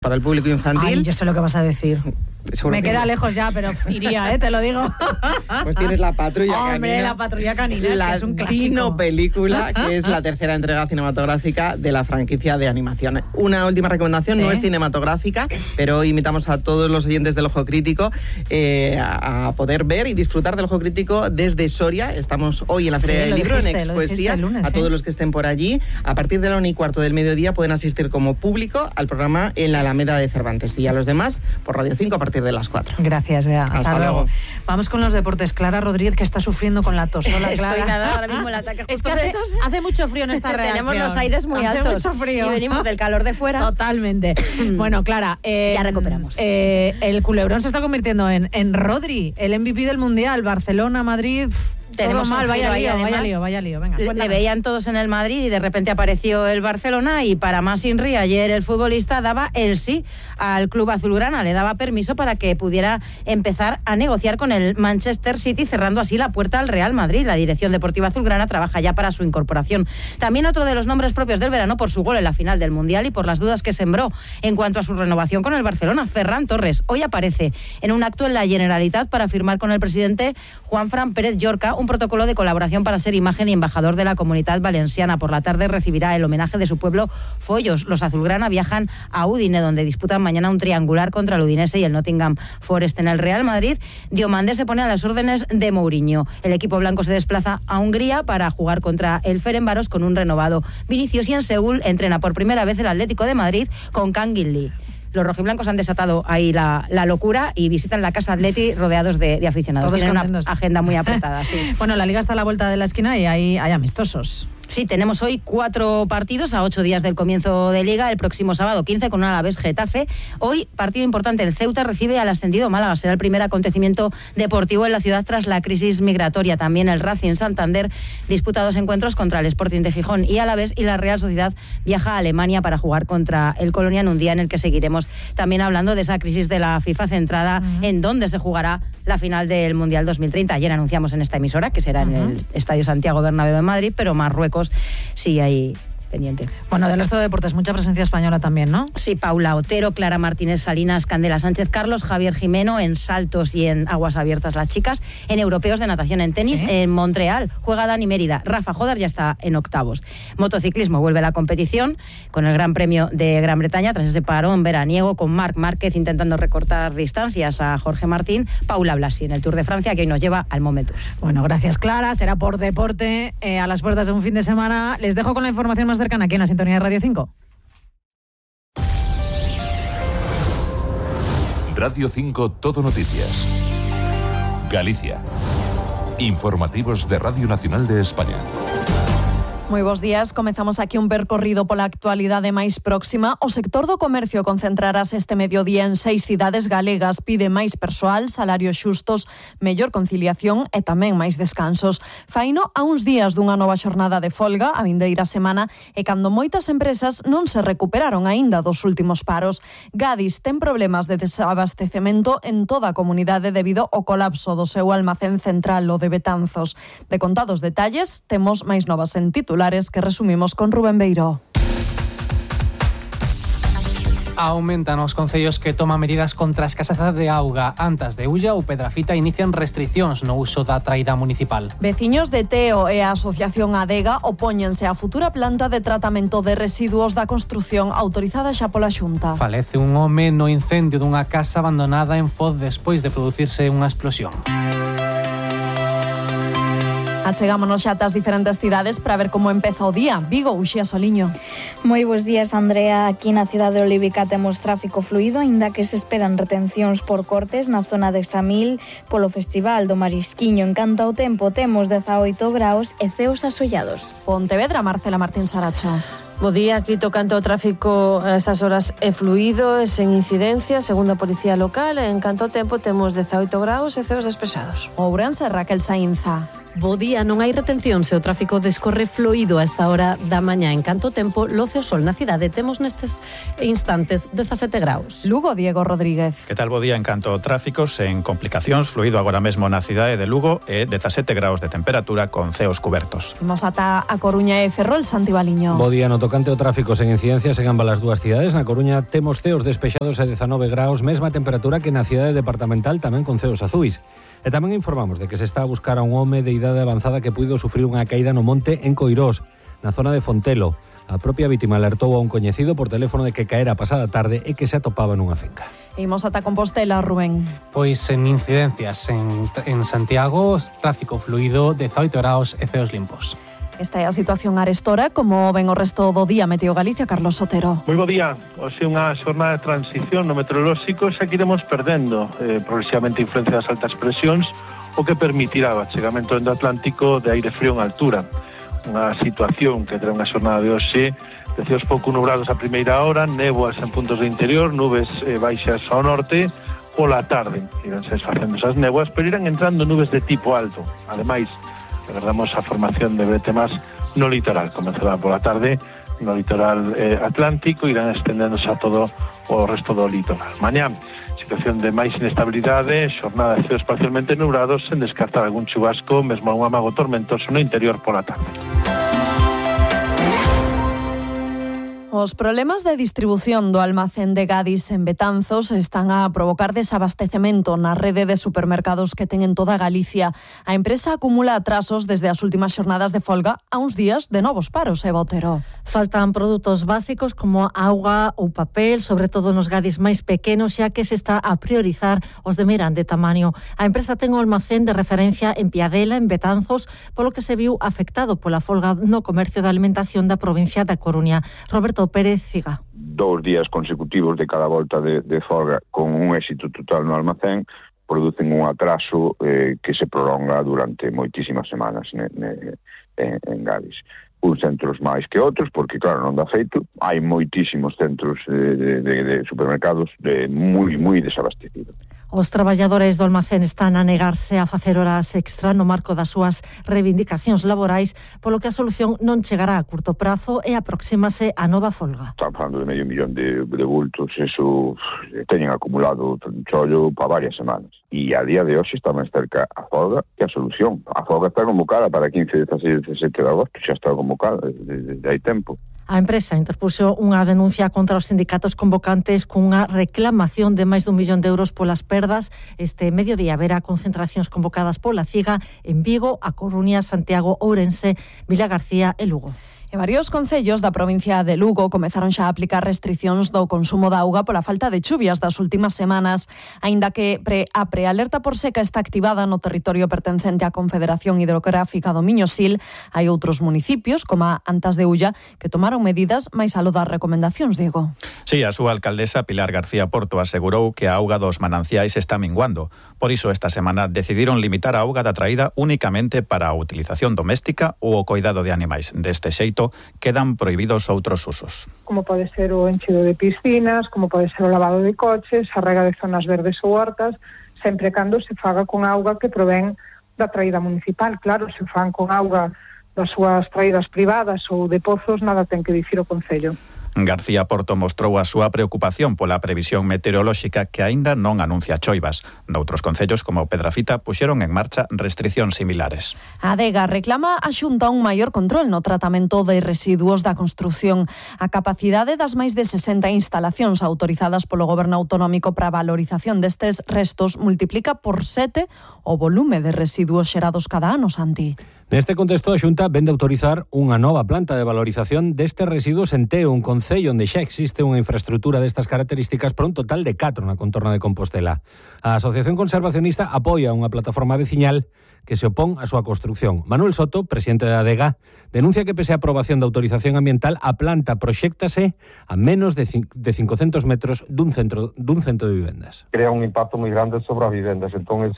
para el público infantil. Ay, yo sé lo que vas a decir. Seguro me queda lejos ya, pero iría, te lo digo. Pues tienes La Patrulla Canina. Hombre, La Patrulla Canina, es que es un clásico. Dino película, que es la tercera entrega cinematográfica de la franquicia de animación. Una última recomendación, ¿sí? No es cinematográfica, pero hoy invitamos a todos los oyentes del Ojo Crítico a poder ver y disfrutar del Ojo Crítico desde Soria. Estamos hoy en la Feria del Libro, en Expoesía. A todos los que estén por allí, a partir de la 1:15 del mediodía pueden asistir como público al programa en la Alameda de Cervantes, y a los demás por Radio 5 a partir de las 4. Gracias, Bea. Hasta luego. Vamos con los deportes. Clara Rodríguez, que está sufriendo con la tos. Hola, Clara. Estoy nada, ahora mismo el ataque. Es que hace mucho frío en esta reacción. Tenemos los aires muy altos. Hace mucho frío. Y venimos del calor de fuera. Totalmente. Bueno, Clara. Ya recuperamos. El culebrón se está convirtiendo en Rodri, el MVP del Mundial. Barcelona, Madrid... Todo mal, vaya lío. Venga, le veían todos en el Madrid y de repente apareció el Barcelona, y para más Inri, ayer el futbolista daba el sí al club azulgrana, le daba permiso para que pudiera empezar a negociar con el Manchester City, cerrando así la puerta al Real Madrid. La dirección deportiva azulgrana trabaja ya para su incorporación. También otro de los nombres propios del verano por su gol en la final del Mundial y por las dudas que sembró en cuanto a su renovación con el Barcelona, Ferran Torres. Hoy aparece en un acto en la Generalitat para firmar con el presidente Juanfran Pérez Llorca un protocolo de colaboración para ser imagen y embajador de la Comunitat Valenciana. Por la tarde recibirá el homenaje de su pueblo, Follos. Los azulgrana viajan a Udine, donde disputan mañana un triangular contra el Udinese y el Nottingham Forest. En el Real Madrid, Diomandé se pone a las órdenes de Mourinho. El equipo blanco se desplaza a Hungría para jugar contra el Ferencváros con un renovado Vinicius, y en Seúl entrena por primera vez el Atlético de Madrid con Kangin Lee. Los rojiblancos han desatado ahí la locura y visitan la Casa Atleti rodeados de aficionados. Todos Tienen contentos. Una agenda muy apretada, sí. Bueno, la Liga está a la vuelta de la esquina y hay amistosos. Sí, tenemos hoy 4 partidos a 8 días del comienzo de Liga. El próximo sábado 15 con un Alavés Getafe. Hoy, partido importante, el Ceuta recibe al ascendido Málaga. Será el primer acontecimiento deportivo en la ciudad tras la crisis migratoria. También el Racing Santander disputa 2 encuentros contra el Sporting de Gijón y Alavés, y la Real Sociedad viaja a Alemania para jugar contra el Colonia en un día en el que seguiremos también hablando de esa crisis de la FIFA centrada en dónde se jugará la final del Mundial 2030. Ayer anunciamos en esta emisora que será en el Estadio Santiago Bernabéu de Madrid, pero Marruecos sí hay pendiente. Bueno, del resto de deportes, mucha presencia española también, ¿no? Sí, Paula Otero, Clara Martínez Salinas, Candela Sánchez Carlos, Javier Jimeno en saltos y en aguas abiertas las chicas, en europeos de natación, en tenis, ¿sí? En Montreal juega Dani Mérida, Rafa Jodar ya está en octavos. Motociclismo vuelve a la competición con el Gran Premio de Gran Bretaña tras ese parón veraniego, con Marc Márquez intentando recortar distancias a Jorge Martín, Paula Blasi en el Tour de Francia, que hoy nos lleva al Momentus. Bueno, gracias, Clara, será por deporte a las puertas de un fin de semana. Les dejo con la información más cercana aquí en la sintonía de Radio 5. Radio 5 Todo Noticias. Galicia. Informativos de Radio Nacional de España. Moi bons días, comezamos aquí un percorrido pola actualidade máis próxima. O sector do comercio concentrarase este mediodía en 6 cidades galegas. Pide máis persoal, salarios xustos, mellor conciliación e tamén máis descansos. Faino a uns días dunha nova xornada de folga a vindeira semana, e cando moitas empresas non se recuperaron aínda dos últimos paros. Gadis ten problemas de desabastecemento en toda a comunidade debido ao colapso do seu almacén central, o de Betanzos. De contados detalles, temos máis novas en titulares que resumimos con Rubén Beiró. Aumentan os concellos que toman medidas contra a escaseza de auga. Antas de Ulla ou Pedrafita inician restricións no uso da traída municipal. Veciños de Teo e a Asociación Adega opóñense á futura planta de tratamento de residuos da construción autorizada xa pola Xunta. Falece un home no incendio dunha casa abandonada en Foz despois de producirse unha explosión. Achegámonos xa ás diferentes cidades para ver como empeza o día. Vigo, Uxía Soliño. Moi bons días, Andrea. Aquí na cidade de Olívica temos tráfico fluido, aínda que se esperan retencións por cortes na zona de Examil polo Festival do Marisquiño. En canto ao tempo, temos 18 graus e ceos asollados. Pontevedra, Marcela Martín Saracho. Bo día, aquí tocante ao tráfico a estas horas é fluido, é sen incidencia, segundo a Policía Local. En canto ao tempo temos 18 graus e ceos despejados. Ourense, Raquel Saínza. Bo día, non hai retención se o tráfico descorre fluido a esta hora da mañá. En canto tempo, loce o sol na cidade. Temos nestes instantes 17 graus. Lugo, Diego Rodríguez. Que tal bo día en canto tráficos en complicacións, fluido agora mesmo na cidade de Lugo e 17 graus de temperatura con ceos cubertos. Imos ata a Coruña e Ferrol, Santi Baliño. Bo día, no tocante ao tráfico sen incidencias en ambas as dúas cidades. Na Coruña temos ceos despexados a 19 graus, mesma temperatura que na cidade departamental, tamén con ceos azuis. E tamén informamos de que se está a buscar a un home de idade avanzada que puido sufrir unha caída no monte en Coirós, na zona de Fontelo. A propia vítima alertou a un coñecido por teléfono de que caera pasada tarde e que se atopaba nunha finca. Imos ata Compostela, Rubén. Pois en incidencias en Santiago, tráfico fluido, 18 graus e ceos limpos. Esta é a situación arestora, como ven o resto do día Meteo Galicia, Carlos Sotero. Moi bo día. Hoxe unha xornada de transición no meteorolóxico, xa que iremos perdendo progresivamente a influencia das altas presións, o que permitirá o achegamento do Atlántico de aire frío en altura. Unha situación que terá unha xornada de hoxe de ceos pouco nubrados a primeira hora, néboas en puntos do interior, nubes baixas ao norte. Pola tarde iránse desfacendo esas néboas, pero irán entrando nubes de tipo alto. Ademais, agardamos a formación de bretemas no litoral. Comenzará pola tarde no litoral atlántico, irán estendéndose a todo o resto do litoral. Mañá, situación de máis inestabilidade, xornada de ceos parcialmente nubrados, sen descartar algún chubasco, mesmo un amago tormentoso no interior pola tarde. Os problemas de distribución do almacén de Gadis en Betanzos están a provocar desabastecemento na rede de supermercados que ten en toda Galicia. A empresa acumula atrasos desde as últimas xornadas de folga a uns días de novos paros, Eva Otero. Faltan produtos básicos como auga ou papel, sobre todo nos Gadis máis pequenos, xa que se está a priorizar os de grande tamaño. A empresa ten o almacén de referencia en Piadela, en Betanzos, polo que se viu afectado pola folga no comercio de alimentación da provincia da Coruña. Roberto Pérez Ciga. 2 días consecutivos de cada volta de folga con un éxito total no almacén producen un atraso que se prolonga durante moitísimas semanas en Gadis. Uns centros máis que outros, porque claro, non dá feito. Hai moitísimos centros de supermercados moi desabastecidos. Os traballadores do almacén están a negarse a facer horas extra no marco das súas reivindicacións laborais, polo que a solución non chegará a curto prazo e aproxímase a nova folga. Están falando de 500.000 de bultos, eso teñen acumulado un chollo para varias semanas. E a día de hoxe está máis cerca a folga que a solución. A folga está convocada para 15, 16, 17 de agosto, xa está convocada desde hai tempo. A empresa interpuxo unha denuncia contra os sindicatos convocantes cunha reclamación de máis d'1 millón de euros polas perdas. Este mediodía haberá concentracións convocadas pola CIGA en Vigo, A Coruña, Santiago, Ourense, Vilagarcía e Lugo. E varios concellos da provincia de Lugo comezaron xa a aplicar restricións do consumo de auga pola falta de chuvias das últimas semanas, aínda que a prealerta por seca está activada no territorio pertencente á Confederación Hidrográfica do Miño-Sil. Hai outros municipios, como a Antas de Ulla, que tomaron medidas máis aló das recomendacións, Diego. Sí, a súa alcaldesa Pilar García Porto asegurou que a auga dos mananciais está minguando. Por iso esta semana decidiron limitar a auga da traída únicamente para a utilización doméstica ou o coidado de animais. Deste xeito, quedan prohibidos outros usos. Como pode ser o enchido de piscinas, como pode ser o lavado de coches, a rega de zonas verdes ou hortas, sempre cando se faga con auga que provén da traída municipal. Claro, se fan con auga das súas traídas privadas ou de pozos, nada ten que dicir o Concello. García Porto mostrou a súa preocupación pola previsión meteorolóxica que aínda non anuncia choivas. Noutros concellos como Pedrafita puxeron en marcha restricións similares. A Adega reclama a Xunta un maior control no tratamento de residuos da construción. A capacidade das máis de 60 instalacións autorizadas polo Goberno Autonómico para a valorización destes restos multiplica por 7 o volume de residuos xerados cada ano, Santi. Neste contexto, a Xunta vende autorizar unha nova planta de valorización destes residuos en Teo, un concello onde xa existe unha infraestructura destas características para un total de 4 na contorna de Compostela. A Asociación Conservacionista apoia unha plataforma veciñal que se opón a súa construción. Manuel Soto, presidente da Adega, denuncia que pese a aprobación da autorización ambiental, a planta proxéctase a menos de 500 metros dun centro de vivendas. Crea un impacto moi grande sobre as vivendas, entón é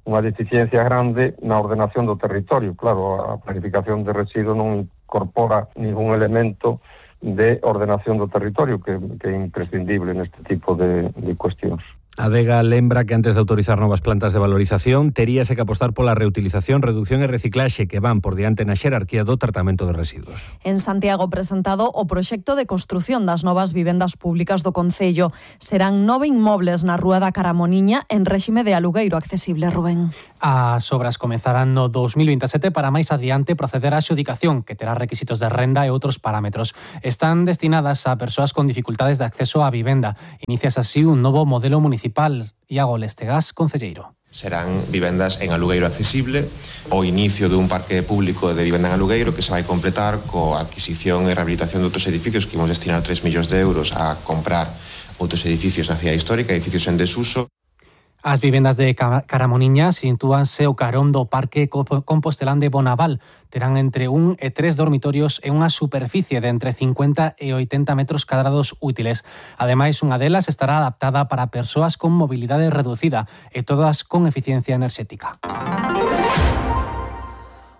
unha deficiencia grande na ordenación do territorio. Claro, a planificación de residuos non incorpora ningún elemento de ordenación do territorio que é imprescindible neste tipo de cuestións. Adega lembra que antes de autorizar novas plantas de valorización teríase que apostar pola reutilización, reducción e reciclaxe que van por diante na xerarquía do tratamento de residuos. En Santiago presentado o proxecto de construción das novas vivendas públicas do concello. Serán 9 inmobles na Rúa da Caramoniña en réxime de alugueiro accesible, Rubén. As obras comezarán no 2027 para máis adiante proceder á adxudicación, que terá requisitos de renda e outros parámetros. Están destinadas a persoas con dificultades de acceso á vivenda. Inicias así un novo modelo municipal. Iago Lestegas, concelleiro. Serán vivendas en alugueiro accesible, o inicio dun parque público de vivenda en alugueiro que se vai completar coa adquisición e rehabilitación de outros edificios que imos destinar 3 millóns de euros a comprar outros edificios na cidade histórica, edificios en desuso. As vivendas de Caramoniña sitúanse ao carón do Parque Compostelán de Bonaval. Terán entre 1 e 3 dormitorios e unha superficie de entre 50 e 80 metros cadrados útiles. Ademais, unha delas estará adaptada para persoas con mobilidade reducida e todas con eficiencia enerxética.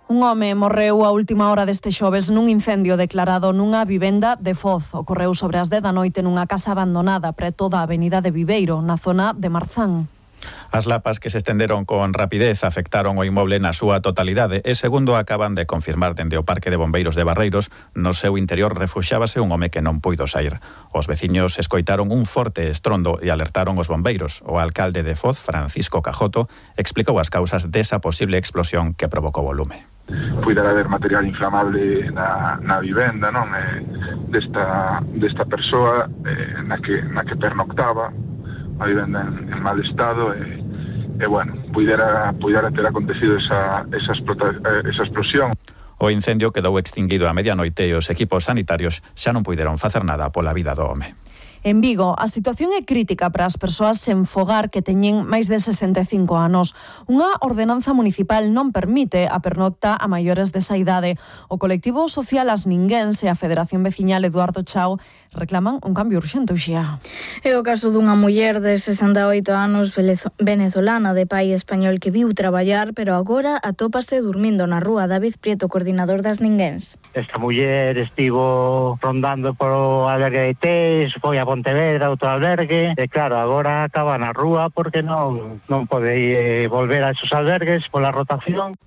Un home morreu a última hora deste xoves nun incendio declarado nunha vivenda de Foz. Ocorreu sobre as 10 da noite nunha casa abandonada preto da avenida de Viveiro, na zona de Marzán. As lapas que se estenderon con rapidez afectaron o inmoble na súa totalidade e, segundo acaban de confirmar dende o Parque de Bombeiros de Barreiros, no seu interior refuxábase un home que non puido sair. Os veciños escoitaron un forte estrondo e alertaron os bombeiros. O alcalde de Foz, Francisco Cajoto, explicou as causas desa posible explosión que provocou o lume. Puidera haber material inflamable na vivenda, non? Desta persoa na que pernoctaba a vivenda en mal estado e bueno, puidera ter acontecido esa explosión. O incendio quedou extinguido a medianoite e os equipos sanitarios xa non puideron facer nada pola vida do home. En Vigo, a situación é crítica para as persoas sen fogar que teñen máis de 65 anos. Unha ordenanza municipal non permite a pernocta a maiores desa idade. O colectivo social As Ninguéns e a Federación Veciñal Eduardo Chao reclaman un cambio urxente, Uxía. É o caso dunha muller de 68 anos venezolana de pai español que viu traballar, pero agora atópase durmindo na rúa. David Prieto, coordinador das Ninguéns. Esta muller estivo rondando polo albergue de Tés, foi a Pontevedra, outro albergue, e claro, agora acaba na rúa porque non pode volver a esos albergues pola rotación.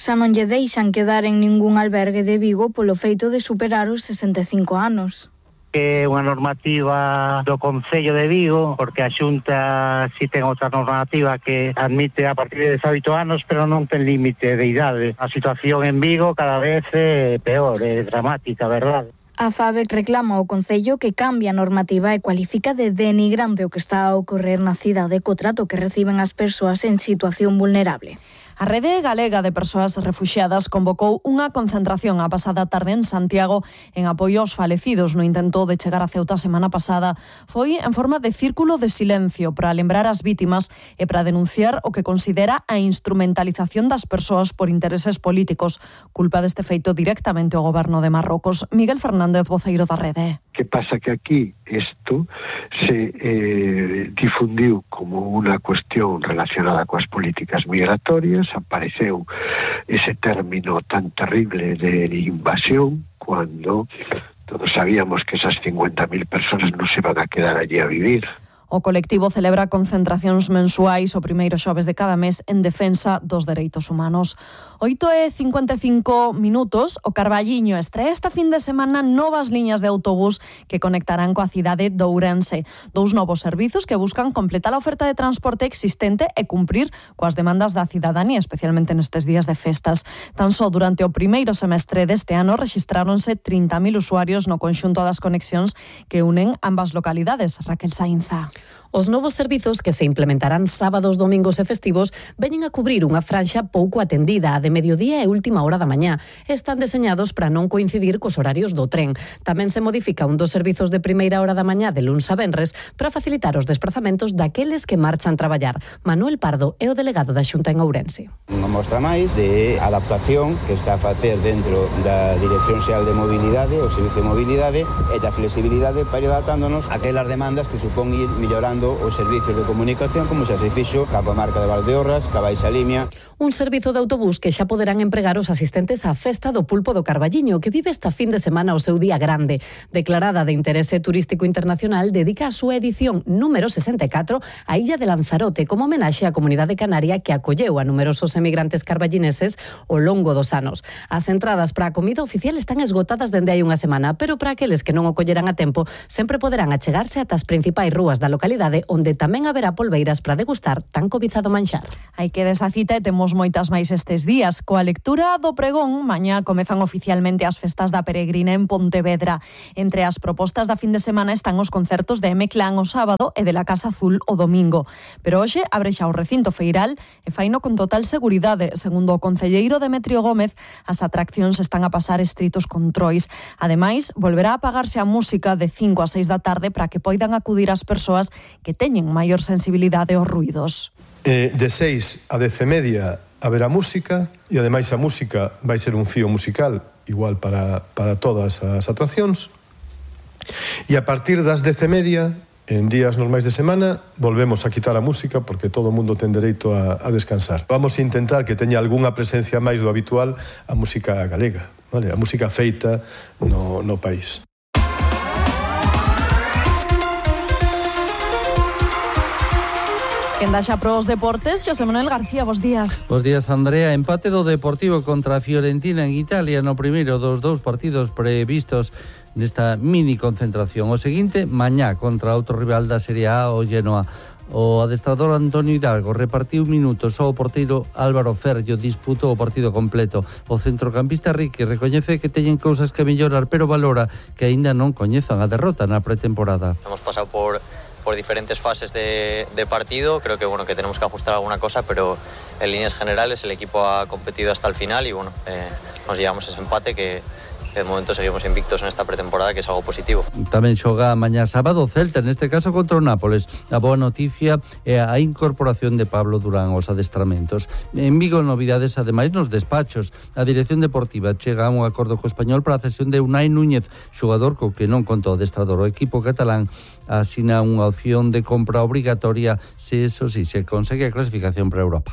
Xa non lle deixan quedar en ningún albergue de Vigo polo feito de superar os 65 anos. É unha normativa do Concello de Vigo, porque a Xunta si ten outra normativa que admite a partir de 18 anos, pero non ten límite de idade. A situación en Vigo cada vez é peor, é dramática, verdade? A FABEC reclama ao Concello que cambie a normativa e cualifica de denigrante o que está a ocorrer na cidade co trato que reciben as persoas en situación vulnerable. A Rede Galega de Persoas Refuxiadas convocou unha concentración a pasada tarde en Santiago en apoio aos falecidos no intento de chegar a Ceuta a semana pasada. Foi en forma de círculo de silencio para lembrar as vítimas e para denunciar o que considera a instrumentalización das persoas por intereses políticos. Culpa deste feito directamente o goberno de Marrocos. Miguel Fernández, voceiro da Rede. Que pasa que aquí isto se difundiu como unha cuestión relacionada coas políticas migratorias, apareceu ese término tan terrible de invasión cuando todos sabíamos que esas 50.000 personas non se van a quedar allí a vivir. O colectivo celebra concentracións mensuais o primeiro xoves de cada mes en defensa dos dereitos humanos. 8:55 minutos, o Carballiño estrea esta fin de semana novas liñas de autobús que conectarán coa cidade de Ourense. 2 novos servizos que buscan completar a oferta de transporte existente e cumprir coas demandas da cidadanía, especialmente nestes días de festas. Tan só durante o primeiro semestre deste ano rexistráronse 30.000 usuarios no conxunto das conexións que unen ambas localidades. Raquel Sainza. Os novos servizos que se implementarán sábados, domingos e festivos veñen a cubrir unha franxa pouco atendida, a de mediodía e última hora da mañá. Están deseñados para non coincidir cos horarios do tren. Tamén se modifica un dos servizos de primeira hora da mañá de luns a venres para facilitar os desplazamentos daqueles que marchan traballar. Manuel Pardo é o delegado da Xunta en Ourense. Unha mostra máis de adaptación que está a facer dentro da Dirección Xeral de Mobilidade, o Servicio de Mobilidade, e da flexibilidade para ir adaptándonos a aquelas demandas que supón ir mellor mellorando os servicios de comunicación, como xa se fixo ca comarca de Valdeorras, ca Baixa Limia. Un servizo de autobús que xa poderán empregar os asistentes á Festa do Pulpo do Carballiño, que vive esta fin de semana o seu día grande. Declarada de interese turístico internacional, dedica a súa edición número 64 á illa de Lanzarote como homenaxe á comunidade canaria que acolleu a numerosos emigrantes carballineses ao longo dos anos. As entradas para a comida oficial están esgotadas dende hai unha semana, pero para aqueles que non o colleran a tempo, sempre poderán achegarse ata as principais rúas da localidade, onde tamén haberá polbeiras para degustar tan cobizado manxar. Hai que desa cita e temos moitas máis estes días. Coa lectura do pregón, mañá comezan oficialmente as festas da Peregrina en Pontevedra. Entre as propostas da fin de semana están os concertos de M-Clan o sábado e de la Casa Azul o domingo. Pero hoxe abre xa o recinto feiral e faino con total seguridade. Segundo o concelleiro Demetrio Gómez, as atraccións están a pasar estritos controis. Ademais, volverá a apagarse a música de 5 a 6 da tarde para que poidan acudir as persoas que teñen maior sensibilidade aos ruidos. De 6 a 10:30 haberá música e ademais a música vai ser un fío musical igual para todas as atraccións. E a partir das 10:30, en días normais de semana, volvemos a quitar a música porque todo o mundo ten dereito a descansar. Vamos a intentar que teña algunha presencia máis do habitual a música galega, vale? A música feita no país. Quen daxa pros deportes, José Manuel García, bos días. Bos días, Andrea. Empate do Deportivo contra a Fiorentina en Italia no primeiro dos dous partidos previstos nesta mini concentración. O seguinte, mañá contra outro rival da Serie A, o Genoa. O adestrador Antonio Hidalgo repartiu minutos ao porteiro Álvaro Ferllo, disputou o partido completo. O centrocampista Riqui recoñece que teñen cousas que mellorar, pero valora que aínda non coñezan a derrota na pretemporada. Hemos pasado por diferentes fases de partido. Creo que que tenemos que ajustar alguna cosa, pero en líneas generales el equipo ha competido hasta el final y nos llevamos ese empate que de momento seguimos invictos en esta pretemporada, que es algo positivo. Tamén xoga mañá sábado Celta, neste caso contra o Nápoles. A boa noticia é a incorporación de Pablo Durán aos adestramentos. En Vigo, novidades ademais nos despachos. A dirección deportiva chega a un acordo co Español para a cesión de Unai Núñez, xogador co que non contou o adestrador. O equipo catalán asina unha opción de compra obrigatoria se consegue a clasificación para Europa.